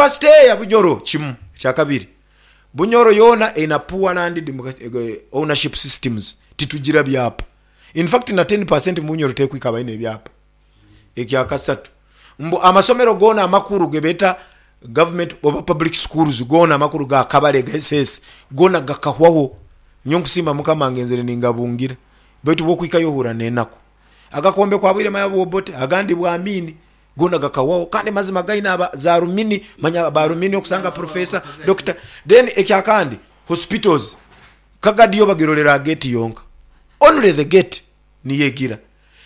University ya Bunyoro kimu ekyakabiri Bunyoro yoona erina poor land ownership systems titugira byapa in fact na ten percent mu Bunyoro tekwika abalina ebyapa. Ekyakasatu mbu amasomero goona amakulu gebeeta government oba public schools goona amakulu ga Kabale ga SS goona gakahwaho. Nyowe nkusiima Mukama ngenzere ningabungira baitu bwokwikayo ohurra nenaku. Agakombe kwa Bwire manya bw'Obote agandi bwa Amin Goona gakahwaho kandi mazima gaine aba za Rumini manya ba Rumini okusanga Professor, Doctor. Then ekyakandi hospitals Kagadi yo bagirolera aha gate yonka only the gate niyo egira.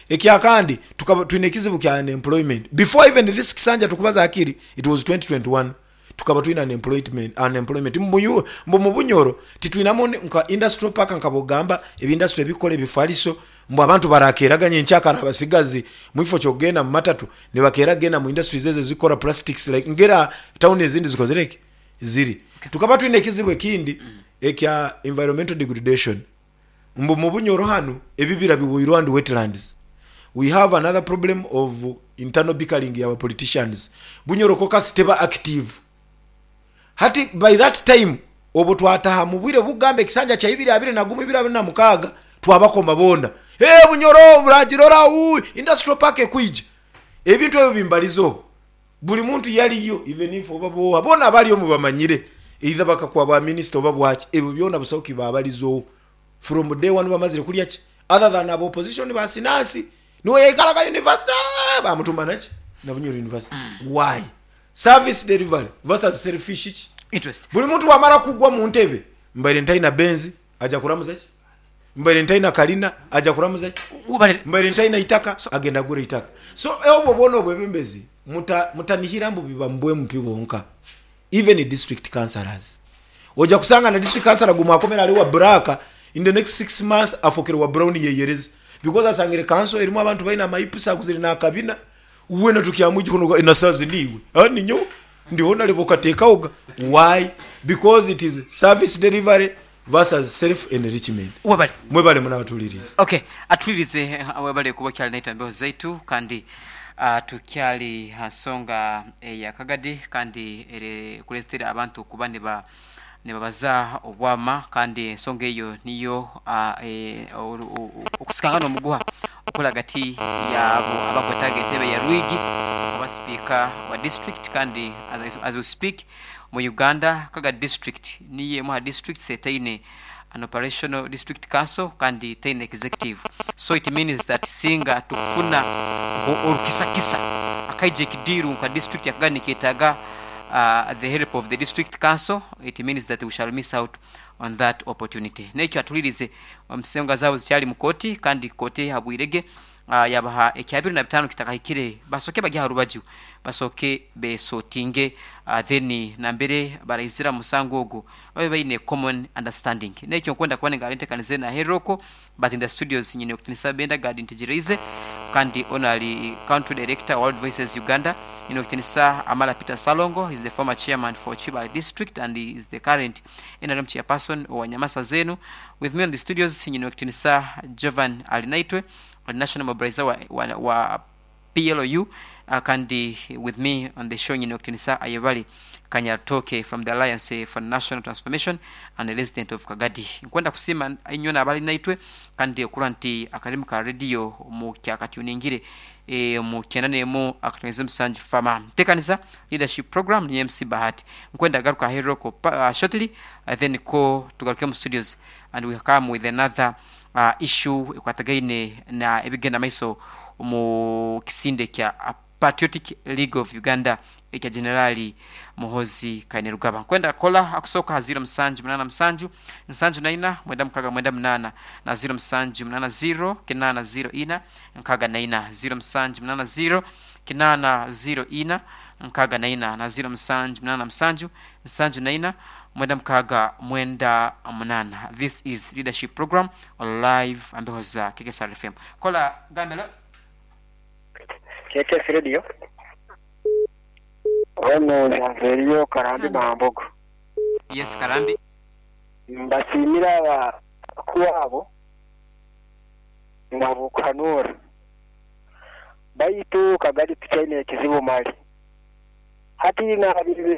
Ekyakandi tukaba twine ekizibu kya unemployment before even this kisanja tukubaza hakiri it was 2021 tukaba twine unemployment mbu mu Bunyoro titwinamu nka industrial park nka bwogamba ebi industry ebikukora ebifaliso mbu abantu barakeraganya enkyakara abasigazi mukifo kyokugenda mu matatu nibakeera kugenda mu industries ezo ezikukora plastics like ngera town ezindi zikozire ki ziri. Tukaba twine ekizibu ekindi ekya environmental degradation mbu mu Bunyoro hanu ebibira biwoirwe and wetlands. We have another problem of internal bickering ya ba politicians. Bunyoro caucus teba active. Hati by that time obwo twataha mu bwire bukugamba ekisanja kya ibiri abiri na gumu ibiri abiri na mukaaga twabakoma boona. Hee Bunyoro buragirora uu industrial park ekwija. Ebintu ebyo bimbalizeho. Buli muntu yaliyo even if oba booha boona abaliyo mubamanyire either bakakuwa bwa minister oba bwaki ebyo byona busaho kibabalizoho from day one bamazire kulya ki other than aba opposition ba sinansi niwe yaikaraga university bamutuma naki na Bunyoro university why service delivery versus selfish ki Interest. buli muntu bwamara kugwa muntebe mbaire ntaina benz aja kuramuza ki Mbaire ntaina kalina, aja kuramuza ki? Mbaire ntaina itaka, agenda agura eitaka. So obwo bwona obwebembezi mutanihira mbu biba mu bwa MP bwonka, even district councillors. Oja kusanga na district councillor gumwakomera ali wa black, in the next 6 months afokere wa brown yeyereza because asangire council erimu abantu baine amaipisa aguzire nakabina, wena tukyamwijuka noga nasazi niiwe, ninyowe ndi honorable okateekaho ga. Why? Because it is service delivery Versus self enrichment. Webale. Mwebale muno abatuliriize. Ok atulirize webale kuba okyali naitwe embeho zaitu kandi tukyali ha nsonga eya Kagadi kandi eri kuletera abantu kuba nibabaza obwama kandi ensonga eyo niyo okusikangana omuguha okuli hagati yabo abakwetaaga entebe ya Rwigi oba sipiika wa district kandi as we speak Mu Uganda, Kagadi District niyo emu aha districts etaine an operational district council kandi teine executive. So it means that singa tukufuna nko orukisakisa akaija ekidiiru nka district ya Kagadi niketaaga the help of the district council, it means that we shall miss out on that opportunity. Nekyo atulirize ensonga zaabo zikyali mu kooti kandi kooti ehabwirege Yaabaha ekya biro na bitaano kitakahikire, basooke bagye aha rubaju, basooke beesotinge then nambere baraizira omu musango ogwo babe baine common understanding. N'ekyo nkwenda kuba ningaara enteekaniza enu aheeru okwo, but in the studios nyine Okutinisa Benda Gad Ntegyereize kandi onu ari Country Director wa World Voices Uganda. Nyine Okutinisa Amara Peter Ssalongo, he is the former chairman for Kibaale district and he is the current nrm chairperson owa Nyamasaza enu. With me on the studios nyine Okutinisa Jovan Arinaitwe, ori National Mobiliser wa, wa, wa PLU kandi with me on the show nyine Okutinisa Ayebare Kanyarutooke from the Alliance for National Transformation and a resident of Kagadi. Nkwenda kusiima inywena abali naitwe kandi okurora nti akarimi ka radio mukyakatuningire omu kyenda n'emu akatonyeza omusanju Fama. Ntekaniza Leadership Program ni MC Bahati. Nkwenda garuka aheeru okwo shortly then ko tugaruke omu studios and we come with another issue ekwatagaine na ebigenda maiso omu kisinde kya Patriotic League of Uganda ekya Generali Muhoozi Kainerugaba. Nkwenda kola akusooka ha ziiro musanju munaana musanju, nsanju na ina, mwenda mukaga mwenda munaana na ziiro musanju munaana ziiro, kinaana ziiro ina, nkaaga na ina, ziiro musanju munaana ziiro, kinaana ziiro ina, nkaaga na ina na ziiro musanju munaana musanju, nsanju na ina, mwenda mukaaga mwenda munaana. This is Leadership Program on live ambeho za KKSR FM. Kola gambe lo. KKS Radio. Ono Janveriyo Karambi Mambogo. Yes Karambi. Mbasiimire abakuru abo ahabw'okuhanuura. Baitu Kagadi tukyaine ekizibu mali. Hati naabaire.